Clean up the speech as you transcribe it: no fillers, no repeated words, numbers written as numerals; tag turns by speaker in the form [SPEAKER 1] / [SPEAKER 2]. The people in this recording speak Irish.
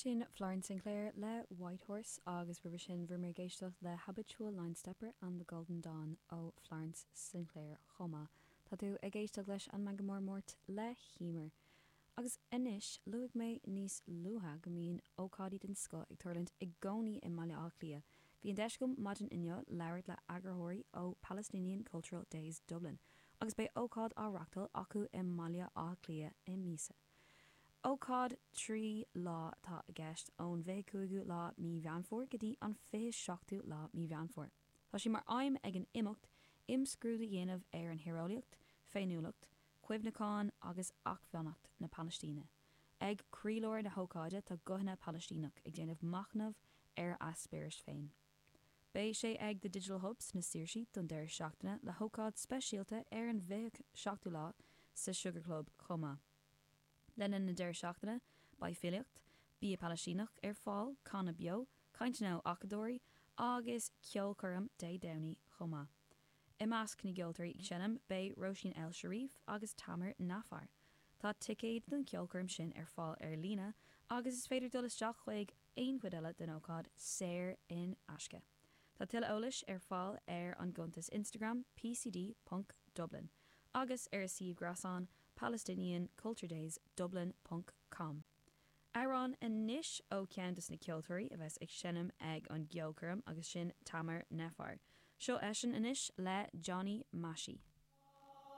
[SPEAKER 1] Sin Florence Sinclair le White Horse agus roimhe sin bhí muid ag éisteacht le Habitual Linestepper and the Golden Dawn ó Florence Sinclair chomh maith. Tá tú ag éisteacht leis an Meangadh Mór Máirt le hEmer. Agus anois, luaigh mé níos luaithe go mbíonn ócáidí den scoth ag tarlúint i gcónaí i mBaile Átha Cliath. Bhí an deis agam maidin inniu labhairt le eagarthóirí ó Palestinian Cultural Days Dublin agus beidh ócáid á reachtáil acu i mBaile Átha Cliath i míosa. Ócáid 3 lá atá i gceist, ón 25ú lá mí Mheán Fómhair go dtí an 27ú lá mí Mheán Fómhair. Tá sé mar aidhm ag an imeacht imscrúdú a dhéanamh ar an thíreolaíocht, féiniúlacht, cuimhneachán agus acmhainneacht na Palaistíne. Ag croílár na hócáide tá guthanna Palaistíneach ag déanamh machnamh ar a eispéiris féin. Beidh sé ag The Digital Hub sna Saoirsí don deireadh seachtaine le hócáid speisialta ar an 27ú lá sa Sugar Club chomh maith. Le linn na deireadh seachtaine beidh filíocht, bia Palaistíneach ar fáil, canadh beo, cainteanna ó acadóirí agus ceolchoirm Dé Domhnaigh chomh maith. I measc na gceoltóirí ag seinm beidh Róisín El Sharif agus Tamer Nafar. Tá ticéid don cheolchoirm sin ar fáil ar líne agus is féidir dul isteach chuig aon chuid eile den ócáid saor in aisce. Tá tuilleadh eolais ar fáil ar an gcuntas Instagram pcd ponc dublin agus ar a suíomh gréasáin palestinianculturedaysdublin ponc com. Amhrán anois ó cheann de na ceoltóirí a bheas ag seinm ag an gceolchoirm agus sin Tamer Nafar. Seo eisean anois le Johnny Mashi.